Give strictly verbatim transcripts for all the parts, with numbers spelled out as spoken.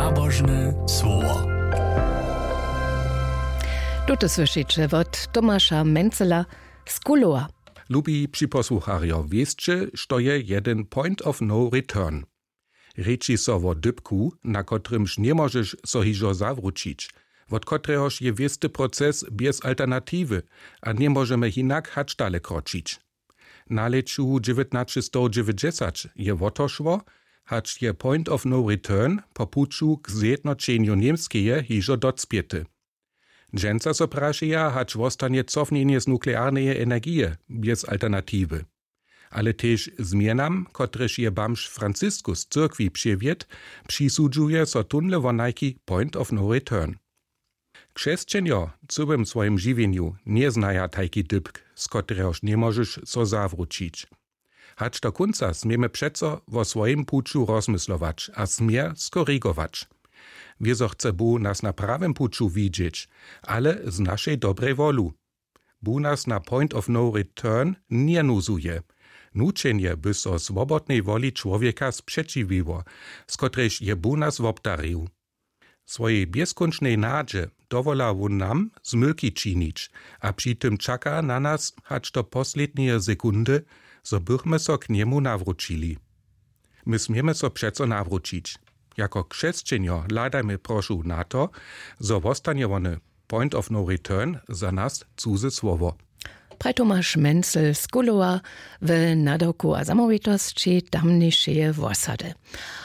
Nabožne słowo. Tute słyšiće wot Tomaša Mencela z Kulowa. Lubi připosłucharjo, wěsće, što je jedyn point of no return? Rěči so wo dypku, na kotrymž njemóžeš so hižo zawróćić, wot kotrehož je wěsty proces bjez alternatiwy a njemóžemy hinak hač dale kročić. Na lěću dźewjatnaćestowdźewjećdźesat je wo to šło, hač je point of no return po puću k zjednoćenju Němskeje hižo docpěty. Dźensa so prašeja, hač wostanje cofnjenje z nuklearneje energije bjez alternatiwy. Ale tež změnam, kotrež je bamž Franciskus z cyrkwi přewjedł, přisudźuje so tónle wonajki point of no return. Křesćenjo w cyłym swojim žiwjenju njeznaja tajki dypk, z kotrehož njemóžeš so zawróćić. Hač do kónca směmy přeco wo swojim puću rozmyslować a směr skorigować. Wězo chce Bóh nas na prawym puću widźeć, ale z našej dobrej wolu. Bóh nas na point of no return njenuzuje. Nućenje by so swobodnej woli čłowjeka spřećiwiło, z kotrejž je Bóh nas wobdarił. Swojej bjezkónčnej nadźe dowola wón nam zmylki činić a při tym čaka na nas hač do posledneje sekundy, zo bychmy so k njemu nawróćili. My směmy so přeco nawróćić. Jako křesćenjo hladajmy prošu na to, zo wostanje wone point of no return za nas cuze słowo. Praj Tomaš Mencel z Kulowa w nadawku a zamołwitosći tamnišeje wosady.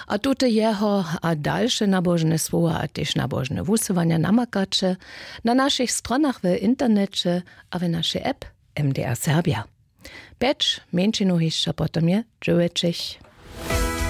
A tute jeho a dalše nabožne słowa a tež nabožne wusyłanja namakaće na našich stronach w interneće a w našej app M D R Serbia. Pjeć mjeńšinu hišće potom je dźewjećich.